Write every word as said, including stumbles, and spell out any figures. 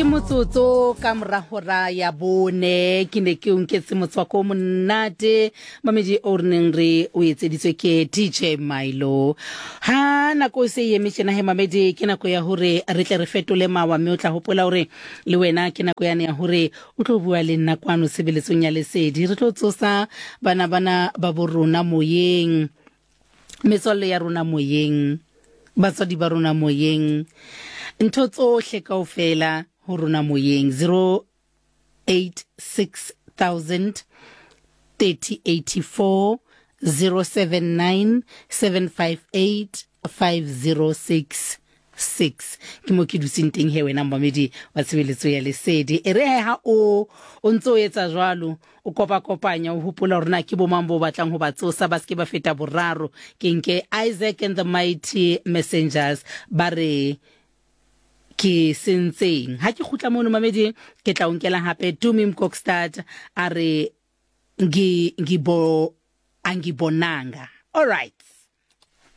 Ke motsotso ka mora hora ya bone. Ke ne ke o nketse motswako o monate mamedi o re neng re o etseditswe ke D J Milo. Ha nako e se e eme tjena he mamedi, ke nako ya hore re tle re fetole mawa, mme o tla hopola hore le wena ke nako yane ya hore o tlo bua le nna kwano tshebeletsong ya Lesedi. Re tlo tsosa bana bana ba bo rona moyeng, metswalle ya rona moyeng, batswadi ba rona moyeng, ntho tsohle kaofela ho rona moyeng. zero eight six thousand thirty eighty-four, zero seven nine seven five eight five zero six six ke mo ke dutseng teng he wena momamedi wa tshebeletso ya Lesedi. E re he ha o o ntse o etsa jwalo, o kopa-kopanya, o hopola hore na ke bo mang bo batlang ho ba tsosa, ba se ke ba feta boraro. Ke nke Isaac and the Mighty Messengers, ba re ke sentseng. Ha ke kgutla mono mamedi, ke tla o nkela hape Tumi Mkokstad, a re ngi ngibo angibonanga. All right.